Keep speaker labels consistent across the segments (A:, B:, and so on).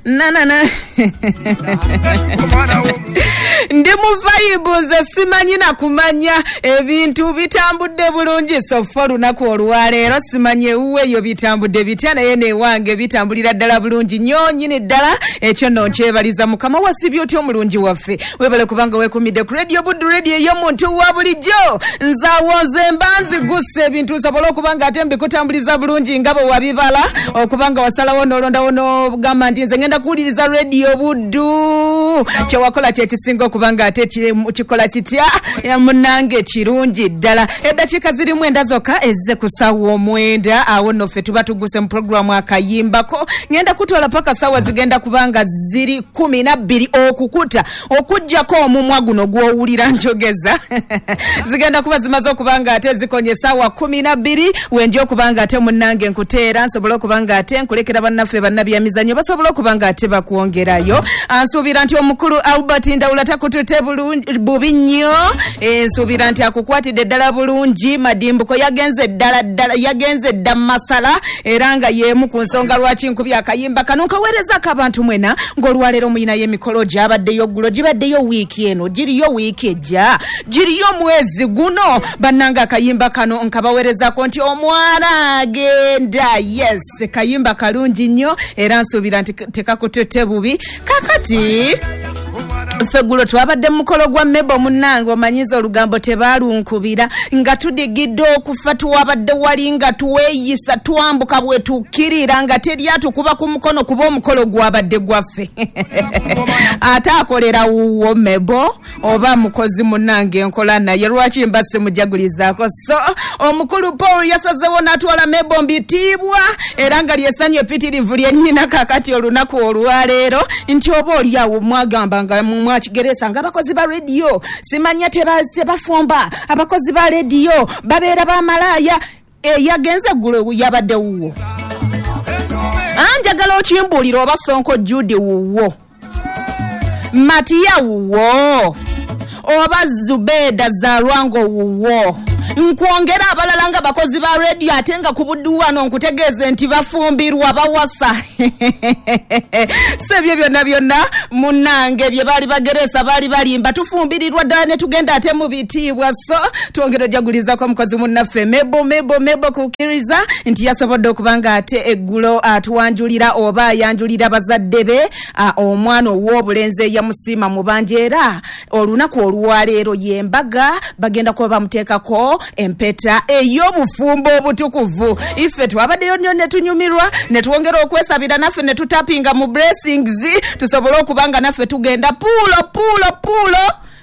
A: na na na na. Ndi mu vibe, nze simanyi na kumanya, ebintu bitambudde bulungi so far olunaku olwaleero. Simanyi ewuwe eyo bitambudde bitya, naye newange bitambulira ddala bulungi nnyo nnyini ddala. Ekyo nno nkyebaliza Mukama. Wasibye otya omulungi waffe? Webale kubanga weekumidde ku Radio Buddu, radio ey'omuntu wa bulijjo. Nze awo nze mba nzigussa ebintu nsobole okuba nga ate mbikutambuliza bulungi nga bwe wabibala, okuba nga wasalawo n'olondawo n'ogamba nti nze ngenda kuwuliriza Radio Buddu. Kyewakola kyekisinga okuba nga ate kikola kitya, munnange, kirungi ddala. Eddakiika zirimu 9 zokka ezze ku ssaawa 9. Awo nno ffe tuba tuguse mu puroguramu akayimbako. Ngenda kutwala paka ssaawa zigenda kuba nga ziri 12 okukuta, okuggyako omumwa guno gw'owulira njogeza zigenda kuba zimaze okuba nga ate zikonye essaawa 12. Wenja okuba nga ate munnange nkuteera nsobole okuba nga ate nkulekera bannaffe bannabyamizannyo basobole okuba nga ate bakwongerayo. Nsuubira nti omukulu Albert Ndawula takutute bubi nnyo. Nsuubira nti akukwatidde ddala bulungi. Madimbuko yagenze ddala ddala, yagenze dda masala, era nga y'emu ku nsonga lwaki nkubye akayimba kano nkaweerezako abantu mwena ng'olwaleero muyinayo emikolo gyabaddeyo ggulo, gibaddeyo wiiki eno, giriyo wiiki ejja, giriyo mwezi guno. Bannange, akayimba kano nkabaweerezako nti omwana agenda. Yes, kayimba kalungi nnyo, era nsuubira nti tekakututte bubi. Kakati ffe ggulo twabadde mu mukolo gwa Mebo. Munnange, omanyiza olugambo tebaalunkubira nga tudigidde okufa. Tuwabadde wali nga tuweeyisa, twambuka bwe tukkirira nga teri atukuba ku mukono, kuba omukolo gwabadde gwaffe. Ate akolera wuwo Mebo oba mukozi munnange nkola naye, lwaki mba simujagulizaako? So omukulu Paul yasazewo n'atwala Mebo mbitiibwa, era nga lyessanyu epitirivu lyennyina kakati olunaku olwaleero, nti oba oli awo mwagamba nga mwakigeresa nga abakozi ba rediyo simanya tebafumba, abakozi ba rediyo babeera bamalaaya. Eyagenze eggulo yabadde wuwo? Anjagala okimbuulira, oba Sonko Jude wuwo, Matiya wuwo, oba Zubeeda Zalwango wuwo, nkwongera abalala nga bakozi ba rediyo, ate nga ku Buddu wano nkutegeeze nti bafumbirwa, bawasa. Si ebyo byonna byonna munnange bye baali bageresa, baali balimba. Tufumbirirwa ddala ne tugenda ate mu bitiibwa. So twongera ojagulizako omukozi munnaffe Mebo, Mebo, Mebo, kukkiriza nti yasobodde okuba nga ate eggulo atuwanjulira oba ayanjulira bazadde be omwana ow'obulenzi eyamusiima mu bangi, era olunaku olwaleero y'embaga, bagenda kuba bamuteekako empeta ey'obufumbo obutukuvu. Ife twabaddeyo nnyo ne tunyumirwa ne twongera okwesabira naffe ne tutapinga mu blessings tusobole okuba nga naffe tugenda puulo puulo puulo.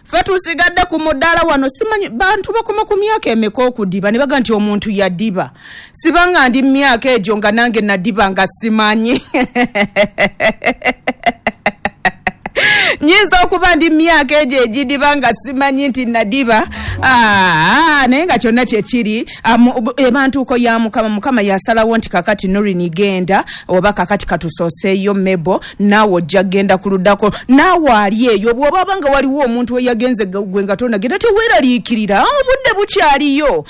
A: Ffe tusigadde ku mudaala wano. Simanyi bantu bakoma ku myaka emeka okudiba ne baga nti omuntu yadiba. Sibanga ndi myaka egyo nga nange nadiba nga simanyi. Nyinza okuba ndi myaka egyo egidiba nga simanyi nti nadiba. Naye nga kyonna kyekiri ebantuuko ya Mukama. Mukama yasalawo nti kakati Norini genda, oba kakati katusooseeyo Mebo, naawe ojja genda ku luddako. Naawe ali eyo bw'obaaba nga waliwo omuntu eyagenze gwe nga tonagenda, teweeraliikirira, obudde bukyaliyo,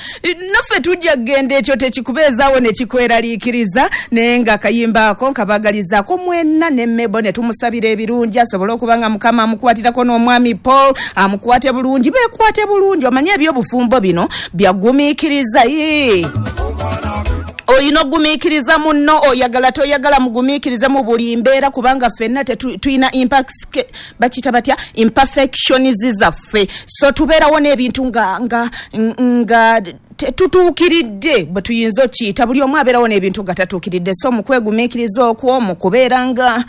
A: naffe tujja kgenda. Ekyo tekikubeezaawo ne kikweraliikiriza. Naye nga akayimba ako nkabagalizaako mwenna ne Mebo ne tumusabira ebirungi, asobole okuba nga Mukama amukwatirako, n'omwami Paul amukwate bulungi, beekwate bulungi. Omanye ebyobufumbo bino byagumiikiriza. Oyina ogumiikiriza munno, oyagala toyagala, mugumiikirize mu buli mbeera, kubanga ffenna tulina bakiyita batya, imperfections zaffe. So tubeerawo n'ebintu nga tetutuukiridde, bwe tuyinza okiyita. Buli omu abeerawo n'ebintu nga tatuukiridde. So mu kwegumiikiriza okwo, mu kubeera nga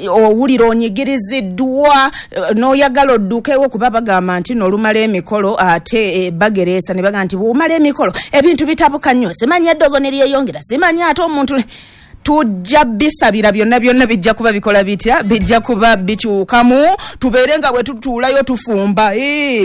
A: owulira onyigiriziddwa n'oyagala oddukewo, kuba bagamba nti n'olumala emikolo ate bagereesa ne bagamba nti bw'omala emikolo ebintu bitabuka nnyo, simanyi eddogo ne lyeyongera, simanyi ate omuntu. Tujja bisabira byonna byonna, bijja kuba bikola bitya, bijja kuba bikyukamu, tubeere nga bwe tutuulayo tufumba.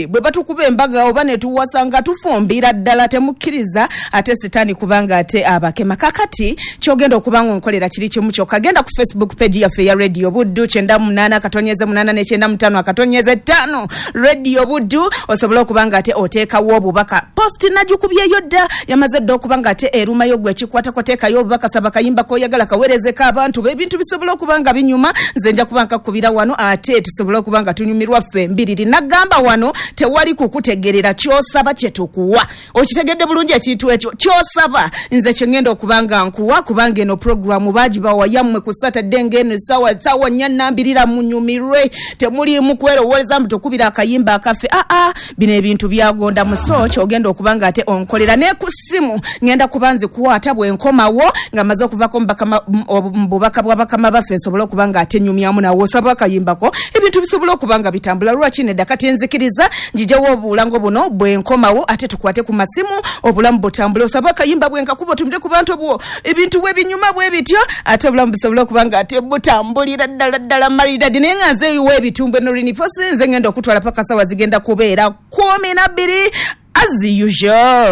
A: Bwe batukuba embaga oba ne tuwasa nga tufumbira ddala. Temukkiriza ate sitaani kubanga ate abakema. Kakati kyogenda okuba nga onkolera kiri kimu kyokka: genda ku Facebook page yaffe eya Radio Buddu, 98.8 ne 95.5 Radio Buddu, osobole okuba nga ate oteekawo obubaka. Post nagikubyeyo dda, yamaze dda okuba nga ate erumayo. Gwe ekikwatako, teekayo obubaka, saba kayimba koyagala. Toyagala kaweerezeko abantu bo, ebintu bisobola okuba nga binyuma. Nze nja kuba nkakubira wano ate tusobole okuba nga tunyumirwa ffe mbiriri. Nagamba wano tewali kukutegerera, kyosaba kye tukuwa. Okitegedde bulungi ekintu ekyo? Kyosaba nze kye ŋŋenda okuba nga nkuwa, kubanga eno puroguramu baagibawa yammwe ku Saturday ng'eno essaawa ssaawa nnya nnambirira, munyumirwe, temuliimu kwerowooleza mbu tukubira akayimba akaffe. Aa, bino ebintu byagonda muso. Kyogenda okuba nga ate onkolera ne ku ssimu ŋŋenda kuba nzikwata bwe nkomawo nga mmaze okuvako mu bubaka bwa bakama baffe, nsobole okuba nga ate nyumyamu nawe. Osaba akayimbako, ebintu bisobole okuba nga bitambula. Lwaki nedda? Kati nzikiriza njijewo obulango buno, bwe nkomawo ate tukwate ku masimu, obulamu butambule. Osaba akayimba, bwe nkakuba otumire ku bantu bwo, ebintu bwe binyuma bwe bityo, ate obulamu busobole okuba nga ate butambulira ddala ddala maridadi. Naye nga nze eyiwa ebitumbwe Norini Posi, nze ngenda okutwala paka sawa zigenda kubeera 12 as usual.